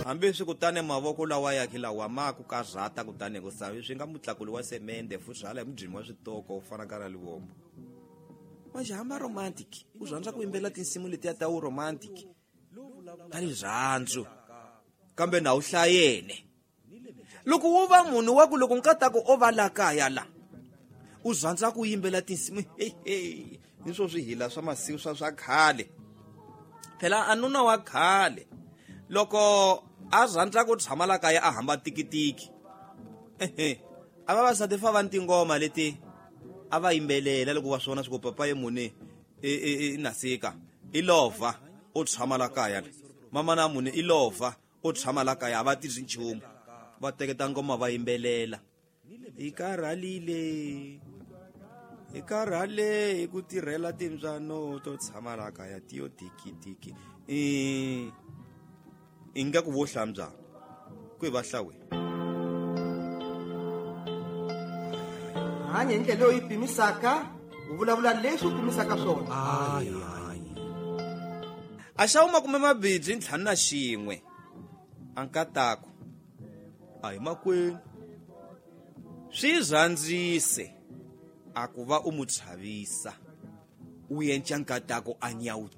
Hambi swi kutani mavoko lawa yakhe lawa ma ku karhata kutani ku savi swi nga mutlakuli wa semende futhi hala hi mudyimi wa switoko u fana ka ra Livombo. Manje hamba romantic, u rhandza ku yimbelela tinsimu letiya ta wu romantic ta rirhandzu kambe na wu hlayene. Loko wo va munhu wa ku loko nkataku o va la kaya la u rhandza ku yimbela tinsimu hey, ni swo swihila swa masiku swa khale. Phela a nuna wa khale loko a rhandza ku tshama la kaya a hamba tikitiki, a vavasati fa va ni tingoma leti a va yimbelela loko va swona swi ku papa ye muni i nasika i lova u tshama la kaya, mama na muni i lova u tshama la kaya, a va tirhi nchumu, va teketa ngoma va yimbelela. Hi karhalile, hi karhale hi ku tirhela timbyano to tshama la kaya tiyo tikitiki. Ingaku vo hlambya ku hi va hlawe. Hanya hi ndlela leyi u yi pimisaka, u vulavula leswi u pimisaka swona. A xava 251 a nkatako a hi makwenu swi rhandzise a ku va u mu chavisa u yenca nkatako a nyawutela.